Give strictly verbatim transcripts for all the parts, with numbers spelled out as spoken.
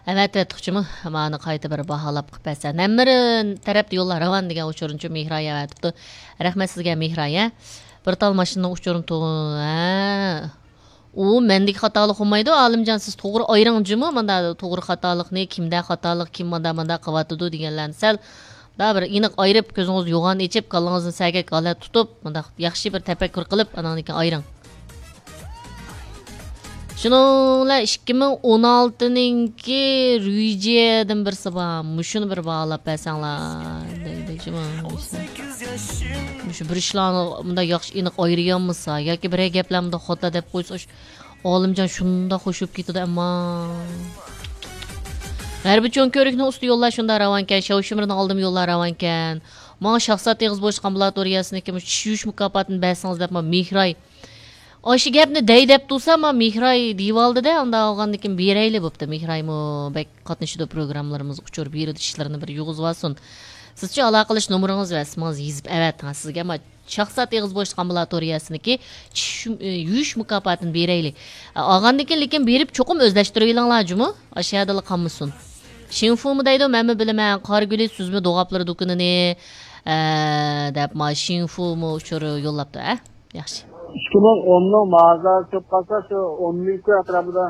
ئەۋەتىۋەتتۇقچىمۇ؟ مانا قايتا بىر باھالاپ قىلىپ بەرسە. نەممىرى تەرەپتە يوللار راۋان دېگەن ئۇچۇرنىچۇ مېھراي ئەۋەتىپتۇ. رەھمەت سىزگە، مېھراي، ھە؟ بىر تال ماشىنىنىڭ ئۇچۇرىنى تۇغ-، ھە. ئۇ مەندىكى خاتالىق بولمايدۇ، ئالىمجان، سىز توغرا ئايرىڭ جۇمۇ، ماندا توغرا خاتالىقنى، كىمدە خاتالىق، كىم ماندا، ماندا قىلىۋاتىدۇ دېگەنلەرنى سەل دا بىر ئېنىق ئايرىپ، كۆزىڭىزنى يوغان ئېچىپ، كاللىڭىزنى سەگەك ھالەت تۇتۇپ، مۇنداق ياخشى بىر تەپەككۇر قىلىپ، ئاناندىن كېيىن ئايرىڭ. شۇنىڭ بىلەن ئىككى مىڭ ئون ئالتىنىڭكى رۈيجيەدىن بىرسى بار، مۇشۇنى بىر باھالاپ بەرسەڭلار دەيدۇ جۇمۇ. مۇشۇ بىر ئىشلارنى مۇنداق ياخشى ئېنىق ئايرىيالمىسا ياكى بىرەر گەپلەر مۇنداق خاتا دەپ قويسا، ئالىمجان شۇنداق خوش بولۇپ كېتىدۇ ئەمما. غەربىي چوڭ كۆۋرۈكنىڭ ئۈستى يوللار شۇنداق راۋانكەن، شاۋشىمىرنىڭ ئالدىمۇ يوللار راۋانكەن. ماڭا شاخسات ئېغىز بوشلۇق ئامبۇلاتورىيەسىنىڭكى مۇشۇ چىش يۇيۇش مۇكاپاتىنى بەرسىڭىز دەپ، ما مېھراي. ئاشۇ گەپنى دەي دەپ تۇرسا، ما مېھراي دېيىۋالدى-دە، ئاندا ئالغاندىن كېيىن بېرەيلى بوپتۇ. مېھرايمۇ بەك قاتنىشىدۇ پروگراممىلىرىمىزغا، ئۇچۇر بېرىدۇ، ئىشلىرىنى بىر يۇغۇزۇۋالسۇن. سىزچۇ ئالاقىلىشىش نومۇرىڭىز ۋە ئىسمىڭىزنى يېزىپ ئەۋەتىڭ. سىزگە ما شاخسات ئېغىز بوشلۇق ئامبۇلاتورىيەسىنىڭكى چىش يۇم-، ئى، يۇيۇش مۇكاپاتىنى بېرەيلى. ئە، ئالغاندىن كېيىن، لېكىن بېرىپ چوقۇم ئۆزلەشتۈرۈۋېلىڭلار جۇمۇ. ئاشۇ يەردىلا قالمىسۇن. شىنفۇمۇ دەيدۇ، مەنمۇ بىلىمەن. قارىگۈلى، سۈزمە دوغاپلىرى دۇكىنىنى، ئە، دەپ ما شىنفۇمۇ ئۇچۇر يوللاپتۇ، ئە؟ ياخشى. ئىككى مىڭ ئوننىڭ مازاسى چوپ قالسا، شۇ ئون مىڭ كوي ئەتراپىدا.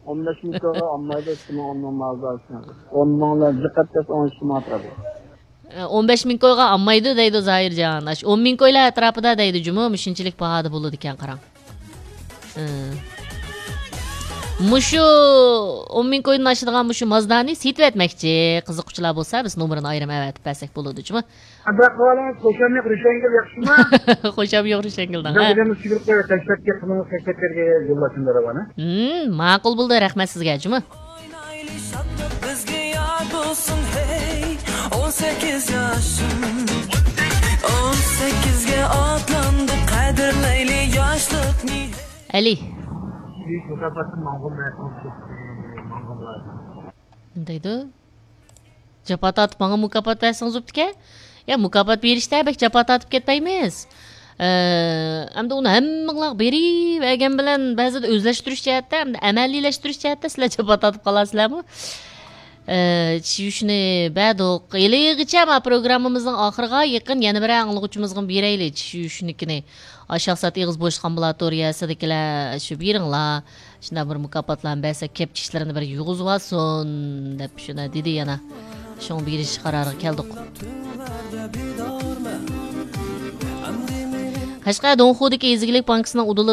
ئون بەش مىڭ كويغا ئالمايدۇ، ئىككى مىڭ ئوننىڭ مازاسى. ئون مىڭ بىلەن جىق ئەتكەس ئون ئىككى مىڭ ئەتراپىدا. ئە، ئون بەش مىڭ كويغا ئالمايدۇ دەيدۇ زاھىرجان. ئاشۇ ئون مىڭ كويلار ئەتراپىدا دەيدۇ جۇمۇ، مۇشۇنچىلىك باھادا بولىدىكەن، قاراڭ. ئە. مۇشۇ ئون مىڭ كويدىن ئاشىدىغان مۇشۇ مازدانى سېتىۋەتمەكچى. قىزىققۇچىلار بولسا، بىز نومۇرىنى ئايرىم ئەۋەتىپ بەرسەك بولىدۇ جۇمۇ. ئەمدى قىلىۋالىڭىز، خۇشام يوق، رۈشەنگۈل ياخشىما؟ خۇشام يوق، رۈشەنگۈلدىڭ، بىر ھە؟ ئادەمنى سۈگۈرۈپ قويۇپ، تەشۋىقات قىلىڭىز، تەشۋىقاتلارغا يوللاشىمدا راۋانە. ھىم، ماقۇل بولدى، رەھمەت سىزگە جۇمۇ. ئوينايلى شادلىق بىزگە يار بولسۇن، ھەي، ئون سەككىز ياشىم. ئون سەككىزگە ئاتلاندى، قەدىرلەيلى ياشلىقنى. ئەلى. بۈيۈك مۇكاپاتتىن ماڭغان مەقۇل ماڭغانلار. نېمە دەيدۇ؟ جاپا تارتىپ ماڭا مۇكاپات بەرسىڭىز بوپتىكەن. يا، مۇكاپات بېرىشتە بەك جاپا تارتىپ كەتمەيمىز. ئە، ئەمدى ئۇنى ھەممىڭلار بېرىۋەرگەن بىلەن بەزىدە ئۆزلەشتۈرۈش جەھەتتە، ئەمدى ئەمەلىيلەشتۈرۈش جەھەتتە سىلەر جاپا تارتىپ قالارسىلەرمۇ؟ ئە، چىش يۇيۇشنى بەردۇق. ھېلىغىچە ما پروگراممىمىزنىڭ ئاخىرىغا يېقىن يەنە بىرەر ئاڭلىغۇچىمىزغىمۇ بېرەيلى چىش يۇيۇشنىكىنى. ئاشۇ شاخسات ئېغىز بوشلۇق ئامبۇلاتورىيەسىدىكىلەر شۇ بېرىڭلار. شۇنداق بىر مۇكاپاتلارنى بەرسەك، كەپ چىشلىرىنى بىر يۇغۇزۇۋالسۇن، دەپ شۇنى دېدى يەنە. شۇڭا بېرىش قارارىغا كەلدۇق. قەشقەر دۇڭخۇدىكى يېزا ئىگىلىك بانكىسىنىڭ ئۇدۇلى